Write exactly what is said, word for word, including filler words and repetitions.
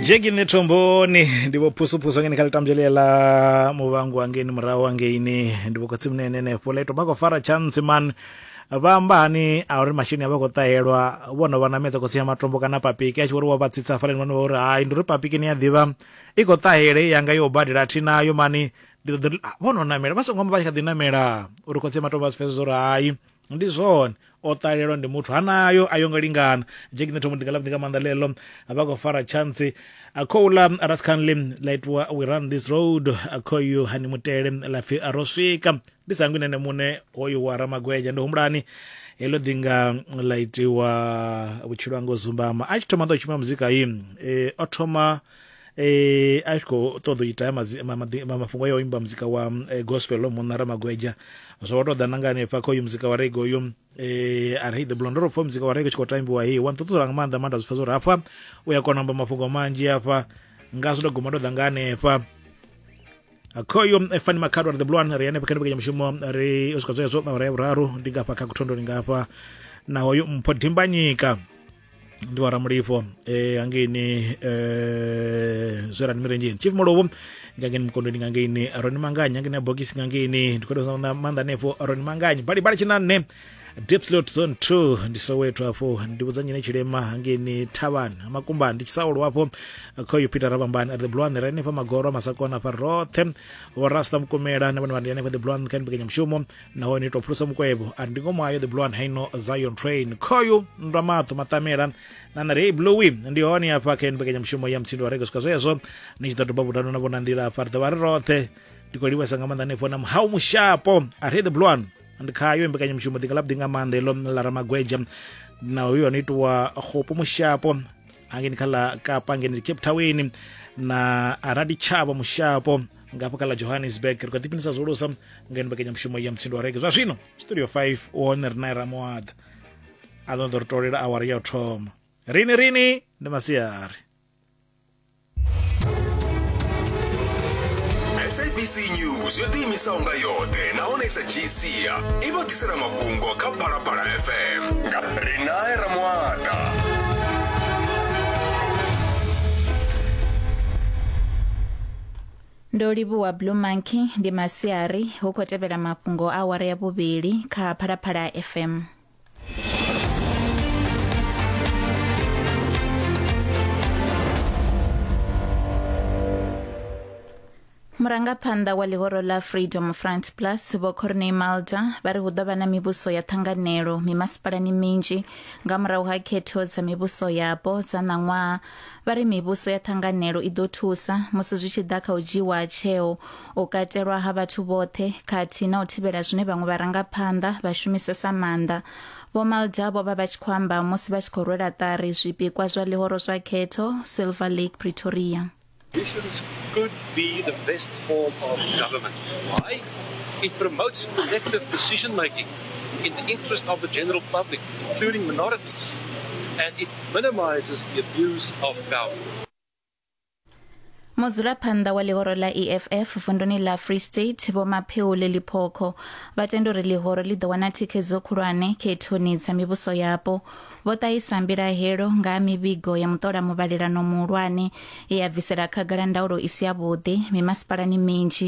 Jeki nṋe thomboni ndi vho phusuphusu ngeni kha ḽitambdzhele ḽa muvhango wangeini murahu wangeini ndi vho khotsi munene henefho ḽa ito vha khou fara chance man vha amba hani a uri masheleni a vha khou ṱahelwa vho no vha namedza khotsi ya matombo kana papiki a tshi vhori wa vha tsitsa hafhaḽani vhone vha uri hai ndi uri papiki ni a ḓivha i khou ṱahela i yanga yo badela thi nayo mani ndi ḓo ḓi vho no namela vha songo amba vha tshi kha ḓi namela uri khotsi ya matombo a si pfesese uri hai ndi zwone o ṱalelwa ndi muthu hanayo a yo ngo lingana. Jeki nṋe thombo ndi nga ḽa nga maanḓa ḽeḽo vha khou fara chance akhoula rascanly ḽa itiwa we run this road akhoyu hani mutele ḽa pfi ro swika ndi sangwi nene muṋe hoyu wa Ramagweja ndi humbulani heḽo ḓinga ḽa itiwa vhutshilo hanga zumbama a tshi thoma ḓo shuma muzika yi e, o thoma e, a tshi khou ṱoḓa u ita mafhungo ya u imba muzika wa e, gospel munna Ramagweja zwo vha tou ḓa nanga hanefha kha uyu muzika wa reggae uyu eh a ri the blonde ro pfa muzika wa reggae tshi khou tambiwa hei wa nṱuṱula nga maanḓa maanḓa zwi pfa zwo ri hafha u ya kona amba mafhungo manzhi hafha ngazwo ndo guma ndo ḓa nga hanefha khoyo Fani Makhado ri the blue one ri hanefha kha mbekanya ri u swika zwezwo awara ya vhuraru ndi ngafha kha kuthondoni ngafha na hoyu Mpho Dimbanyika ndi wa Ramulifho eh hangeini eh zwerani mirenzheni Chief Molovo ngangeni mukondweni ngangeini Roni Manganyi ngangeni bogisi ngangeini ndi khodo maanḓa hanefho Roni Manganyi bali bali tshinanne Deep Slot Zone two ndi Soweto afho ndi vhudza nyine tshilema hangeini Thavhani Makumbani ndi Tshisaulu afho khoyu Peter Rabambani the Blue One ri hanefha Magoro Masakona afha roṱhe vho Rasta Mukomela na vhone vha ndi hanefha the Blue One kha mbekanyamushumo nahone ito phulusa mukwevho ari ndi ngomu ayo the Blue One haino Zion Train khoyu ndwa maṱo maṱamela na na rei Bluey ndi hone afha kha mbekanyamushumo ya Mutsindo wa Reggae swika zwezwo ni tshi ḓo doba vhudano na vhona nḓila afha ri ḓo vha ri roṱhe ndi khou livhesa nga maanḓa hanefho na Muhau Mushapo ari the Blue One ndi khayo mbekanyamushumo ḓinga ḽavhuḓi nga maanḓa iḽo ḽa Ramagweja na uyo no itiwa Khopo Mushapo hangeni kha ḽa Kapa ngeni Cape Town na Raditshavha Mushapo ngafha kha ḽa Johannesburg ri khou ḓiphinisa zwihulusa ngeno mbekanyamushumo ya Mutsindo wa Reggae zwa zwino studio five u hone ri nae Ramoaḓa a ḓo ḓo ri tolela awara ya u thoma rini rini ndi masiari. S A B C News yo ḓiimisaho nga yoṱhe nahone sa G C i vha ḓisela mafhungo kha Phalaphala F M nga Rinae Ramoata. Ndo livhuwa Blue Monkey ndi masiari hu khou tevhela mafhungo a awara ya vhuvhili kha Phalaphala F M. Murangaphanḓa wa ḽihoro ḽa Freedom Front Plus Vho Corne Malta vha ri hu ḓo vha na mivhuso ya ṱhanganelo mimasipalani minzhi nga murahu ha khetho dza mivhuso yapo dza ṋaṅwaha. Vha ri mivhuso ya ṱhanganelo i ḓo thusa musi zwi tshi ḓa kha u dzhiwa tsheo u katelwa ha vhathu vhoṱhe khathihi na u thivhela zwine vhaṅwe vharangaphanḓa vha shumisesa maanḓa. Vho Malta vho vha vha tshi khou amba musi vha tshi khou rwela ṱari zwipikwa zwa ḽihoro zwa khetho Silver Lake Pretoria. Coalitions could be the best form of government. Why? It promotes collective decision making in the interest of the general public, including minorities, and it minimizes the abuse of power. Mudzulaphanḓa wa ḽihoro ḽa E F F vunduni ḽa Free State Vho Mapheule Liphoko vha tenda uri ḽihoro ḽi ḓo wana thikhedzo khulwane khethoni dza mivhuso yapo. Vho ṱahisa mbilahelo nga mivhigo ya muṱola muvhalelano muhulwane ye ya bvisela khagala ndaulo i si yavhuḓi mimasipalani minzhi.